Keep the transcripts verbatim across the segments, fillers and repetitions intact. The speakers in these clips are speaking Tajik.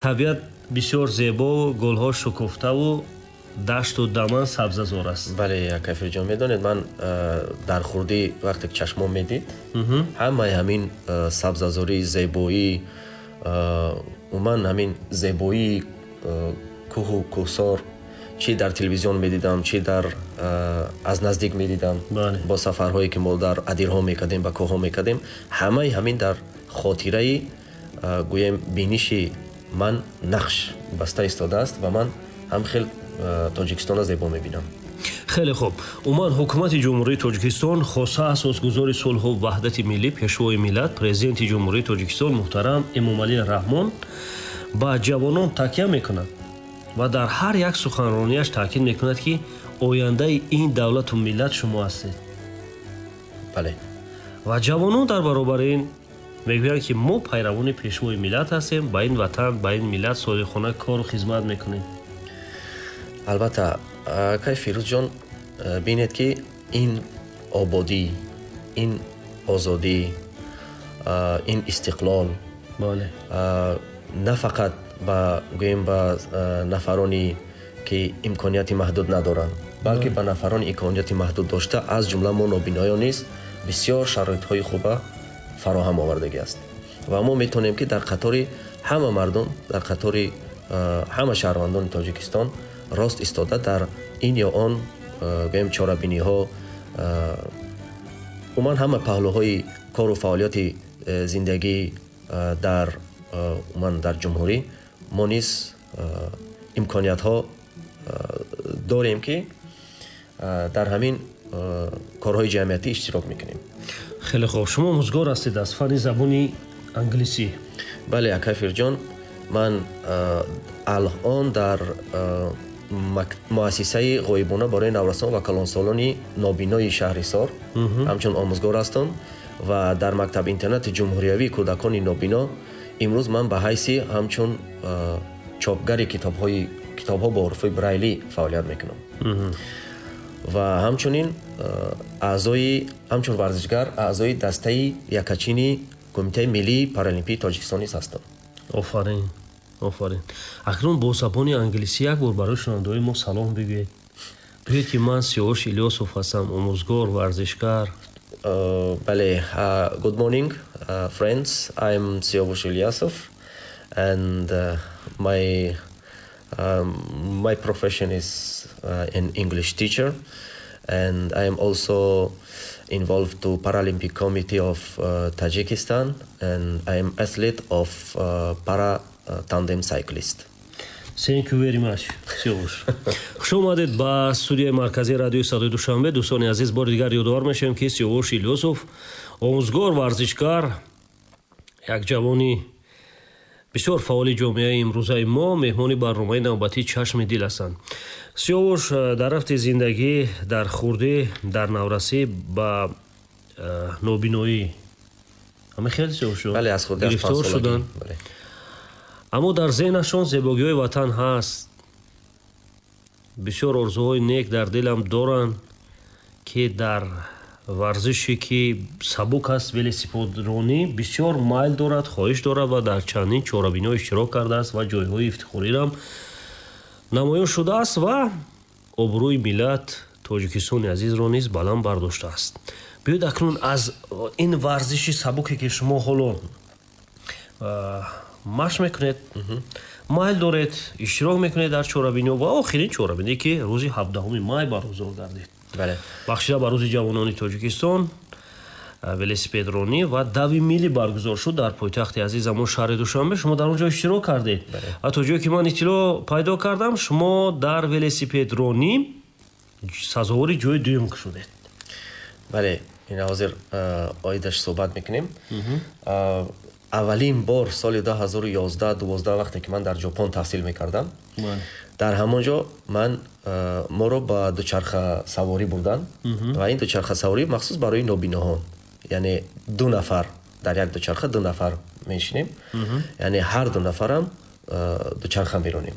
Табиат бисёр зебо, гулҳо шукуфтаву дашту даман сабзазор аст. Бале, акай Фирӯзҷон, медонед, ман дар хурдӣ вақте ки чашмом медид, ҳамаи ҳамин сабзазорӣ, зебоӣ, умуман ҳамин зебоии кӯҳу кӯҳсор, чӣ дар телевизион медидам, чӣ дар аз наздик медидам, бо сафарҳое ки мо дар адирҳо мекардем, ба кӯҳҳо мекардем, ҳамаи ҳамин дар хотираи, гӯем, биниши ман нақш баста истодааст ва ман ҳам хел Тоҷикистонро зебо мебинам. Хеле хуб. Умуман, ҳукумати Ҷумҳурии Тоҷикистон, хоса асосгузори сулҳу ваҳдати миллӣ, Пешвои миллат, Президенти Ҷумҳурии Тоҷикистон муҳтарам Эмомалӣ Раҳмон ба ҷавонон такя мекунад ва дар ҳар як суханронияш таъкид мекунад, ки ояндаи ин давлату миллат шумо ҳастед. Бале. Ва ҷавонон дар баробари ин мегӯянд, ки мо пайравони Пешвои миллат ҳастем, ба ин ватан, ба ин миллат содиқона кору хизмат мекунем. Албатта, акай Фирӯзҷон, бинед, ки ин ободӣ, ин озодӣ, ин истиқлол на фақат ба, гӯем, ба нафароне ки имконияти маҳдуд надоранд, балки ба нафарони имконияти маҳдуд дошта, аз ҷумла мо нобиноён низ бисёр шароитҳои хуба фароҳам овардагӣ аст ва мо метавонем, ки дар қатори ҳама мардум, дар қатори ҳама шаҳрвандони Тоҷикистон рост истода, дар ин ё он, гӯем, чорабиниҳо, умуман ҳама паҳлӯҳои кору фаъолияти э, зиндагӣ дар умуман дар ҷумҳурӣ мо низ имкониятҳо дорем, ки дар ҳамин корҳои ҷамъиятӣ иштирок мекунем. Хеле хуб. Шумо омӯзгор ҳастед аз фанни забони англисӣ. Бале, акай Фирӯзҷон, ман алон дар муассисаи ғоибона барои наврасон ва калонсолони нобинои шаҳри Ҳисор ҳамчун омӯзгор ҳастам ва дар мактаб интернати ҷумҳуриявии кӯдакони нобино имрӯз ман ба ҳайси ҳамчун чопгари китобҳои китобҳо бо ҳуруфи брайлӣ фаъолият мекунам ва ҳамчунин аъзои, ҳамчун варзишгар, аъзои дастаи якачини Кумитаи миллии паралимпии Тоҷикистон низ ҳастам. Офарин, офарин. Акнун бо забони англисӣ як бор барои шунавандаҳои мо салом бигӯед. Бигӯед, ки ман Сиёвуш Илёсов ҳастам, омӯзгор, варзишгар. uh, бале, good morning, uh, friends. I'm Siyovush Ilyasov and uh, my um, my profession is uh, an English teacher and I am also involved to Paralympic Committee of uh, Tajikistan and I am athlete of uh, para tandem cyclist. Thank you very much, Сиёвуш. Хуш омадед ба студияи марказии радиои Садои Душанбе. Дӯстони азиз, бори дигар ёдовар мешавем, ки Сиёвуш Илёсов омӯзгор, варзишгар, як ҷавони бисёр фаъоли ҷомеаи имрӯзаи мо меҳмони барномаи навбатии «Чашми дил» ҳастанд. Сиёвуш дар рафти зиндагӣ, дар хурдӣ, дар наврасӣ ба э, нобиноӣ, ҳама хел, Сиёвуш, гирифтор шуданд, аммо дар зеҳнашон зебогиҳои ватан ҳаст, бисёр орзуҳои нек дар дилам доранд, ки дар варзише ки сабук аст, велосипедронӣ, бисёр майл дорад, хоҳиш дорад ва дар чандин чорабиниҳо иштирок кардааст ва ҷойҳои ифтихориам намоён шудааст ва обрӯи миллат, Тоҷикистони азизро низ баланд бардоштааст. Биёед, акнун аз ин варзиши сабуке, ки шумо ҳоло машқ мекунед, майл доред, иштирок мекунед дар чорабиниҳо ва охирин чорабиние, ки рӯзи ҳабдаҳуми май баргузор гардид, бахшида ба Рӯзи ҷавонони Тоҷикистон, велосипедронӣ ва дави милӣ баргузор шуд дар пойтахти азизамон, шаҳри Душанбе. Шумо дар он ҷо иштирок кардед ва то ҷое ки ман иттилоъ пайдо кардам, шумо дар велосипедронӣ сазовори ҷои дуюм шудед. Бале, ин ҳозир оидаш суҳбат мекунем. Аввалин бор соли ду ҳазору ёздаҳ, дувоздаҳ, вақте ки ман дар Ҷопон таҳсил мекардам, дар ҳамон ҷо ман моро ба дучархасаворӣ бурданд ва ин дучархасаворӣ махсус барои нобиноҳон, яъне ду нафар дар як дучарха, ду нафар менишинем, яъне ҳар ду нафарам дучарха меронем,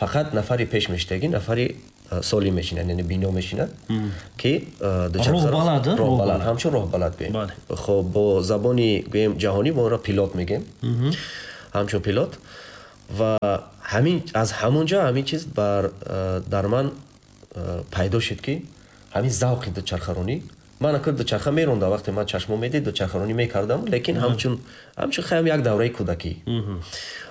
фақат нафари пеш мештагӣ, нафари солим мешинад, яъне бино мешинад, ки роҳбалад, ҳамчун роҳбалад гӯем. Хоб, бо забони, гӯем, ҷаҳонӣ мо онро пилот мегӯем, ҳамчун пилот. Ва ҳамин аз ҳамон ҷо ҳамин чиз бар дар ман пайдо шуд, ки ҳамин завқи дучархаронӣ. Ман акр дучарха мерондам, вақте ман чашмон медид, дучархаронӣ мекардам, лекин ҳамчун ҳамчун хаям як давраи кӯдакӣ.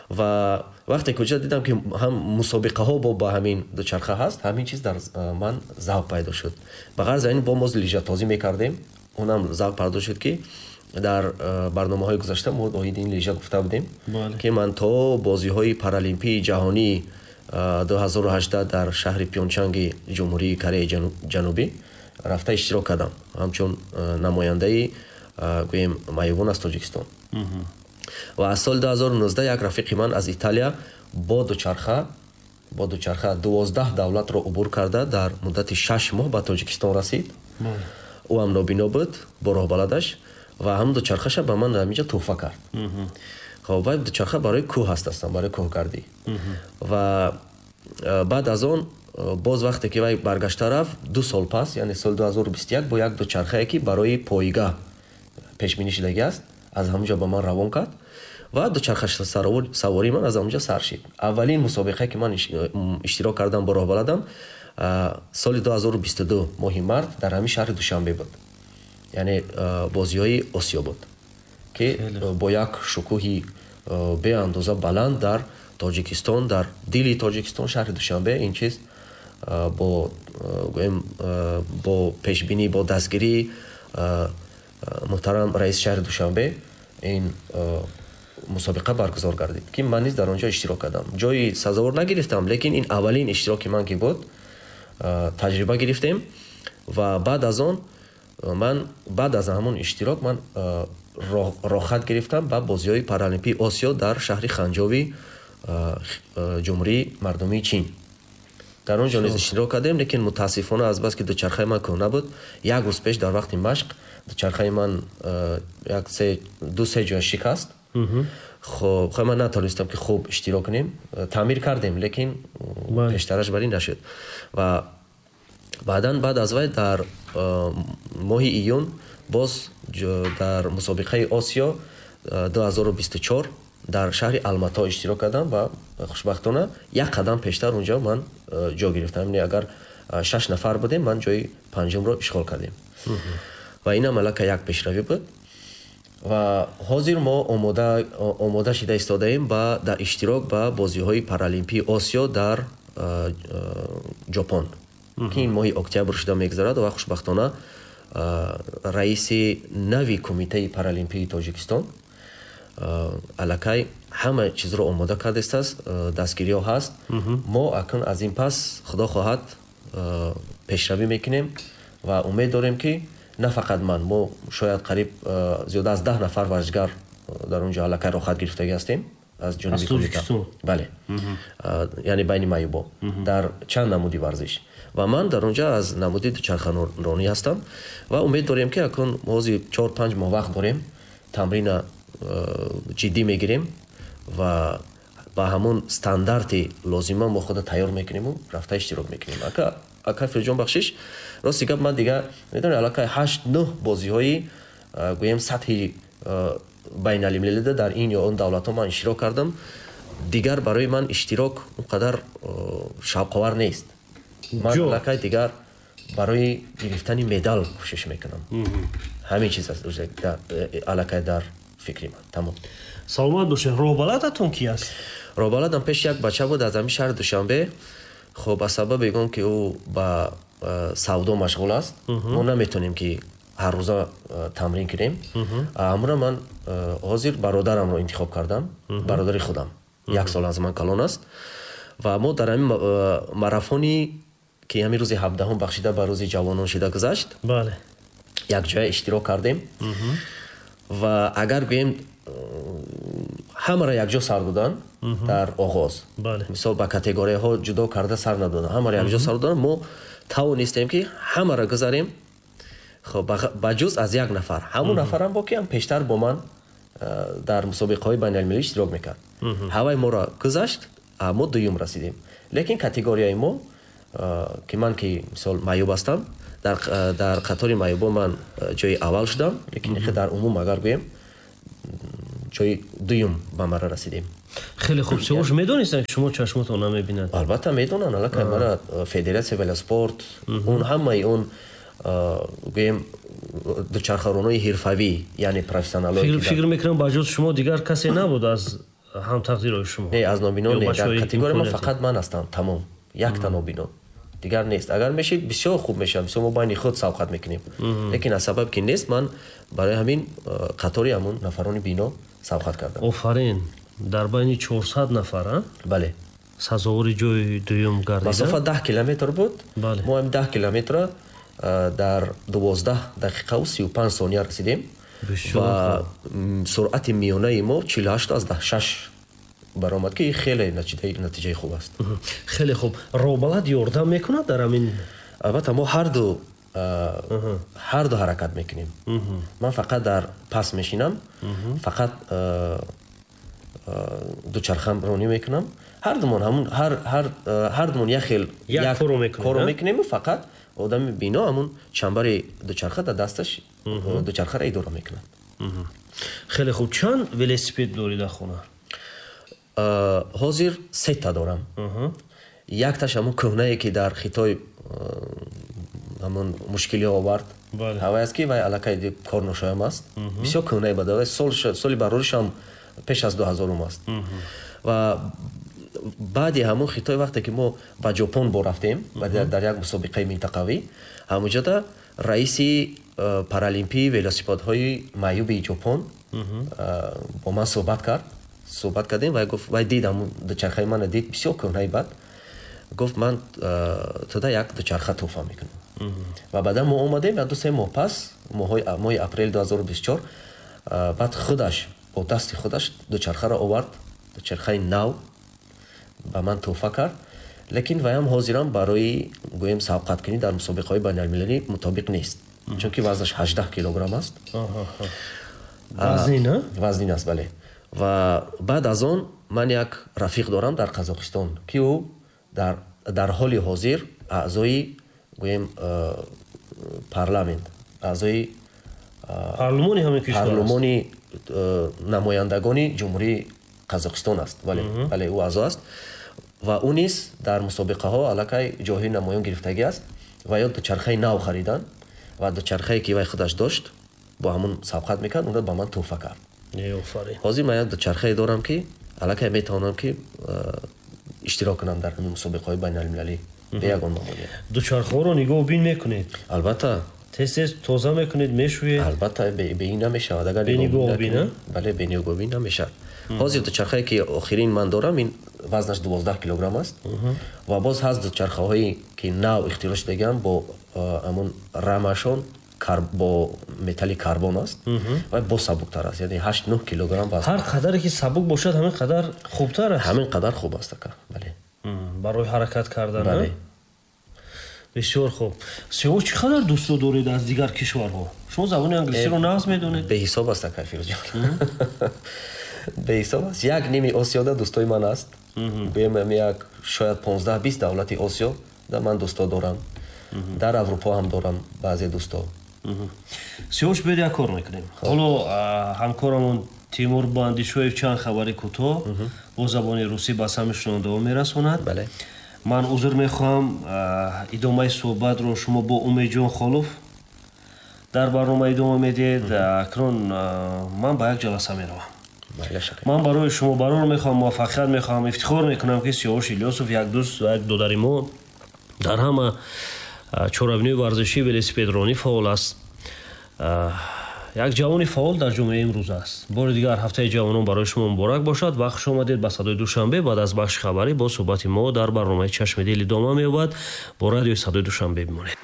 Ва вақте куҷо дидам, ки ҳам мусобиқаҳо бо ба ҳамин дучарха ҳаст, ҳамин чиз дар ман завқ пайдо шуд. Ба ғарз ин бо мо лижатозӣ мекардем, онам завқ пайдо шуд, ки дар барномаҳои гузашта мо оиди ин лижа гуфта будем, ки ман то бозиҳои паралимпии ҷаҳонии ду ҳазору ҳаждаҳ дар шаҳри Пёнчанги Ҷумҳурии Кореяи Ҷанубӣ рафта иштирок кардам, ҳамчун намояндаи гӯем маъюбон аз Тоҷикистон. Ва аз соли ду ҳазору нуздаҳ як рафиқи ман аз Италия бо дучарха бо дучарха дувоздаҳ давлатро убур карда дар муддати шаш моҳ ба Тоҷикистон расид. Ӯ ҳам нобино буд бо роҳбаладаш ва ҳамон дучархаша ба ман ҳаминҷо туҳфа кард. Хоб, вай дучарха барои кӯҳ ҳаст, астан барои кӯҳгардӣ. Ва баъд аз он боз вақте ки вай баргашта рафт, ду сол пас, яъне соли ду ҳазору бисту як, бо як дучархае, ки барои пойга пешбинӣ шудагӣ аст, аз ҳамон ҷо ба ман равон кард ва дучарха савории ман аз ҳамон ҷо сар шид. Аввалин мусобиқае, ки ман иштирок кардам бо роҳбаладам, соли ду ҳазору бисту ду моҳи март дар ҳамин шаҳри Душанбе буд, яъне бозиҳои Осиё буд, ки бо як шукӯҳи беандоза баланд дар Тоҷикистон, дар дили Тоҷикистон, шаҳри Душанбе, ин чиз бо гӯем бо пешбинӣ, бо дастгирии муҳтарам раиси шаҳри Душанбе ин мусобиқа баргузор гардид, ки ман низ дар он ҷо иштирок кардам. Ҷои сазовор нагирифтам, лекин ин аввалин иштироки ман ки буд, таҷриба гирифтем. Ва баъд аз он ман баъд аз ҳамон иштирок ман рохат гирифтам ба бозиҳои паралимпии Осиё дар шаҳри Ханҷови Ҷумҳурии Мардумии Чин. Дар он ҷо низ иштирок кардем, лекин мутаассифона аз бас ки дучархаи ман кӯҳна буд, як рӯз пеш дар вақти машқ дучархаи ман як се ду се ҷоя шикаст. Хоб, хай ман натавонистам, ки хуб иштирок кунем. Таъмир кардем, лекин пештараш бар ин нашуд. Ва баъдан баъд аз вай дар моҳи июн боз дар мусобиқаи Осиё ду ҳазору бисту чор дар шаҳри Алмато иштирок кардам ва хушбахтона як қадам пештар онҷо ман ҷо гирифтам. Яъне агар шаш нафар будем, ман ҷои панҷумро ишғол кардем. Ва инам аллакай як пешравӣ буд. Ва ҳозир мо омода омода шида истодаем ба дар иштирок ба бозиҳои паралимпии Осиё дар Ҷопон, ки ин моҳи октябр шуда мегузарад. Ва хушбахтона раиси нави Кумитаи паралимпии Тоҷикистон аллакай ҳама чизро омода кардааст, дастгириҳо ҳаст. Мо акнун аз ин пас, худо хоҳад, пешравӣ мекунем ва умед дорем, ки на фақат ман, мо шояд қариб зиёда аз даҳ нафар варзишгар дар он ҷо аллакай рохат гирифтагӣ ҳастем аз ҷониби кумита. Бале, яъне байни маъюбо дар чанд намуди варзиш. Ва ман дар он ҷо аз намуди дучархаронӣ ҳастам ва умед дорем, ки акнун ҳозир чор панҷ моҳ вақт дорем, тамрина ҷиддӣ мегирем ва ба ҳамон стандарти лозима мо худа тайёр мекунему рафта иштирок мекунем. Ака ака Фирҷон, бахшиш, рости гап, ман дига медонӣ, аллакай ҳашт нӯҳ бозиҳои гӯем сатҳи байналмилалида дар ин ё он давлатҳо ман иштирок кардам. Дигар барои ман иштирок он қадар шавқовар нест. Ман аллакай дигар барои гирифтани медал кӯшиш мекунам. Ҳамин чиз аст аллакай дар фикри ман. Тамом. Саломат бошед. Роҳбаладатон ки аст? Роҳбаладам пеш як бача буд аз ҳамин шаҳри Душанбе. Хоб, аз сабаби он ки ӯ ба савдо машғул аст, мо наметонем, ки ҳар рӯза тамрин кунем. Ҳамура ман ҳозир бародарамро интихоб кардам, бародари худам, як сол аз ман калон аст. Ва мо дар ҳамин марафони, ки ҳамин рӯзи ҳабдаҳум бахшида ба рӯзи ҷавонон шида гузашт, якҷоя иштирок кардем. Ва агар гӯем, ҳамаро якҷо сар додан дар оғоз, мисол, ба категорияҳо ҷудо карда сар надодан, ҳамаро якҷо сар додан, мо тавонистем, ки ҳамаро гузарем, хоб, ба ҷуз аз як нафар. Ҳамон нафарам бо ки ҳам пештар бо ман дар мусобиқаҳои байналмилалӣ иштирок мекард. Ҳавай моро гузашт, мо дуюм расидем. Лекин категорияи мо, ки ман ки мисол маъюб ҳастам, дар дар қатори маъюбон ман ҷои аввал шудам, лекин дар умум агар гӯем, ҷои дуюм ба мара расидем. Хеле хуб. Сиёвуш, медонистанд, ки шумо чашмотон намебинад? Албатта медонанд. Аллакай мара федератсияи велоспорт, он ҳамаи он, гӯем, дучархаронои ҳирфавӣ, яъне профессионалҳое ки Фикр мекунам, ба ҷуз шумо дигар касе набуд аз ҳамтақдирҳои шумо. Не, аз нобино не, дар категория ман фақат ман ҳастам, тамом, якта нобино, дигар нест. Агар мешид, бисёр хуб мешавад, бисёр мо байни худ сабқат мекунем, лекин аз сабаб ки нест, ман барои ҳамин қатори ҳамун нафарони бино сабқат кардам. Офарин! Дар байни чорсад нафар, а? Бале. Сазовори ҷои дуюм гардида. Масофа даҳ километр буд. Мо ҳамин даҳ километра дар дувоздаҳ дақиқаву сию панҷ сония расидем ва суръати миёнаи мо чилу ҳашт аз даҳ шаш баромад, ки хеле натиҷаи хуб аст. Хеле хуб. Роҳбалад ёрдам мекунад дар ҳамин? Албатта, мо ҳарду ҳарду ҳаракат мекунем. Ман фақат дар пас мешинам, фақат дучархаронӣ мекунам. Ҳардумон ҳамун ҳардумон як хел корро мекунему, фақат одами бино ҳамун чамбари дучарха дар дасташ дучархаро идора мекунад. Хеле хуб. Чанд велосипед дорӣ дар хона? Ҳозир сета дорам. Якташ ҳамун кӯҳнае, ки дар Хитой ҳамун мушкилиҳо овард, ҳавай аст, ки вай аллакай корношоям аст, бисёр кӯҳнае бад, соли бароришам пеш аз дуҳазорум аст. Ва баъди ҳамун Хитой, вақте ки мо ба Ҷопон бо рафтем дар як мусобиқаи минтақавӣ, ҳамунҷода раиси паралимпии велосипедҳои маъюби Ҷопон бо ман суҳбат кард. Суҳбат кардем, вай гуфт, вай дид ҳамун дучархаи мана, дид, бисёр кӯҳнаи бад, гуфт: «Ман туда як дучарха тӯҳфа мекунам». Ва баъдан мо омадем, як ду се моҳ пас, моҳи апрели дуҳазору бисту чор, баъд худаш бо дасти худаш дучархаро овард, дучархаи нав ба ман тӯҳфа кард. Лекин вайам ҳозирам барои, гӯем, сабқаткунӣ дар мусобиқаҳои байналмилалӣ мутобиқ нест, чунки вазнаш ҳаждаҳ килограмм аст. Вазнин. Вазнин аст, бале. Ва баъд аз он ман як рафиқ дорам дар Қазоқистон, ки ӯ дар ҳоли ҳозир аъзои, гӯем, парламент, аъзои парлумони ҳамин кишвар. Парлумони намояндагони Ҷумҳурии Қазоқистон аст. Бале, бале, ӯ аъзо аст ва ӯ низ дар мусобиқаҳо аллакай ҷойҳои намоён гирифтагӣ аст. Ва ё дучархаи нав харидан ва дучархае, ки вай худаш дошт, бо ҳамун сабқат мекард, онро ба ман тӯҳфа кард. Ҳозир ман як дучархае дорам, ки аллакай метавонам, ки иштирок кунам дар ҳамин мусобиқаҳои байналмилалӣ бе ягон мамоният. Дучархаҳоро нигоҳубин мекунед? Албатта. Тез тез тоза мекунед, мешӯед? Албатта, бе ин намешавад. Агар бенигоҳубин. Бале, бенигоҳубин намешавад. Ҳозир дучархае, ки охирин ман дорам, ин вазнаш дувоздаҳ килограмм аст. Ва боз ҳаст дучархаҳое, ки нав ихтироъ шудагианд, бо ҳамун рамашон бо металли карбон аст ва боз сабуктар аст, яъне ҳашт нӯҳ килограмм вазн. Ҳар қадаре ки сабук бошад, ҳамин қадар хубтар аст. Ҳамин қадар хуб аст, ака, бале. Барои ҳаракат кардан. Бале. Бисёр хуб. Сиёвуш, чӣ қадар дӯстдо доред аз дигар кишварҳо? Шумо забони англисиро нағз медонед. Беҳисоб аст, ака Фирӯзҷон, беҳисоб аст. Як ними Осиёда дӯстои ман аст. Гӯем, як шояд понздаҳ бист давлати Осиё да ман дӯсто дорам, дар Аврупо ҳам дорам баъзе дӯсто. Сиёвуш, биёед, як кор мекунем. Ҳоло ҳамкорамон Тимур Бандишоев чанд хабари кӯтоҳ бо забони русӣ ба самъи шунавандаҳо мерасонад. Ман узр мехоҳам, идомаи суҳбатро шумо бо Умедҷон Холов дар барнома идома медиҳед. Акнун ман ба як ҷаласа меравам. Ман барои шумо барор мехоҳам, муваффақият мехоҳам. Ифтихор мекунам, ки Сиёвуш Илёсов, як дӯст ва як додари мо, дар ҳама чорабиниҳои варзишӣ, велосипедронӣ фаъол аст, як ҷавони фаъол дар ҷомеаи имрӯз аст. Бори дигар ҳафтаи ҷавонон барои шумо муборак бошад ва хуш омадед ба Садои Душанбе. Баъд аз бахши хабарӣ бо суҳбати мо дар барномаи «Чашми дил» идома меёбад. Бо радиои Садои Душанбе бимонед.